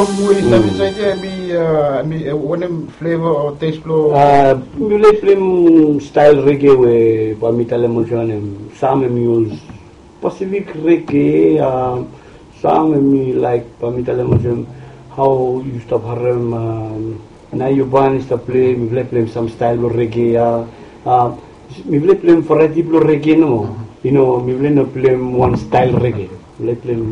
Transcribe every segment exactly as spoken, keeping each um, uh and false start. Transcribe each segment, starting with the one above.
Song we i stap insaed ya, hemi, uh, hemi, uh, wanem flavor o taste blong? Uh, mi laik pleim style reggae we bae mi talem olsem wanem, sam hemi ol Pacific reggae, uh, sam hemi laik bae mi talem olsem, hao yu stap harem, um, Nayuban i stap pleim, mifala i pleim sam style blong reggae ya. Uh, mifala i pleim variety blong reggae nomo. You know, mifala i no pleim wan style reggae. Mifala i pleim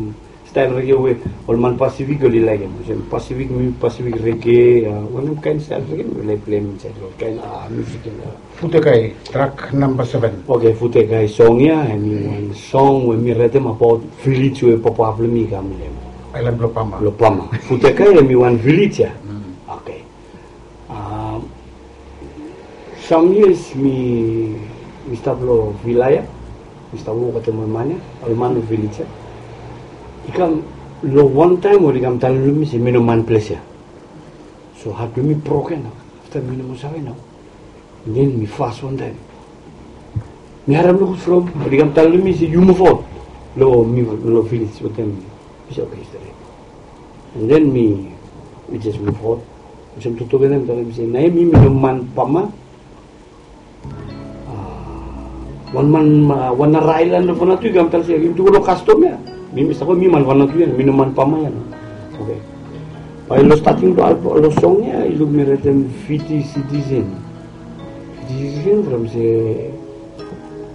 style reggae we ol man Pacific oli laekem. Olsem Pacific, mi Pacific reggae, uh, wanem kaen style reggae mifala i pleim insaed long kaen, uh, music ya. Futekai, track namba seven. Okay, Futekai song ya, hemi wan song we mi raetem abaot village we papa blong mi i kam long hem. Aelan blong Pama. Blong Pama. Futekai hemi wan village ya. Okay. Um, some years mi, mi stap long villa ya. Mi stap wok wetem ol man ya, ol man long village ya. I kam long wan taem oli kam talem long mi se mi no man ples ya. So hat blong mi broken nao. Afta mi no moa save nao. Den mi fas wan taem. Mi harem nogud from oli kam talem long mi se yu muv aot long mi long village wetem mi. Mi se okay, stret. And then mi, mi jes muv aot. Olsem toktok ya mi talem se naoia mi, mi no man Pama. Ah, wan man, ah, wan nara aelan long Vanuatu i kam talem se yumi tu go long kastom ya. Mi, mi save mi man Vanuatu ya, mi no man Pama ya. Okay. Bae long stating blong, long song ya i luk mi raetem Fiji citizen. Fiji citizen from se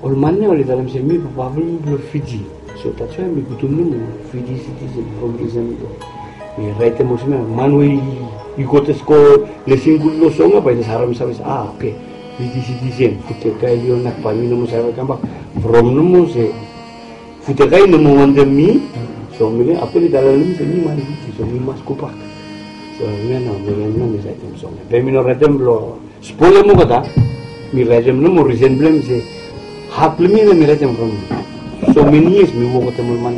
ol man ya oli talem se mi papa blong mi blong Fiji. So that's why mi putum nomo Fiji citizen from risen blong mi raetem olsem ya, man we i go jes go lesin gud long song ya bae i jes harem save se, ah, okay, Fiji citizen, Futekai oli onak, bae mi no moa save kambak from nomo se Futekai i no moa wantem mi. So mi, afta oli talem long mi se mi man Fiji, so mi mas gobak. So hemia nao mi, hemia nao mi raetem song ya. Be mi no raetem blong spolem olgeta. Mi raetem nomo risen blong hem se hat blong mi ya mi raetem from so many years mi wok wetem ol man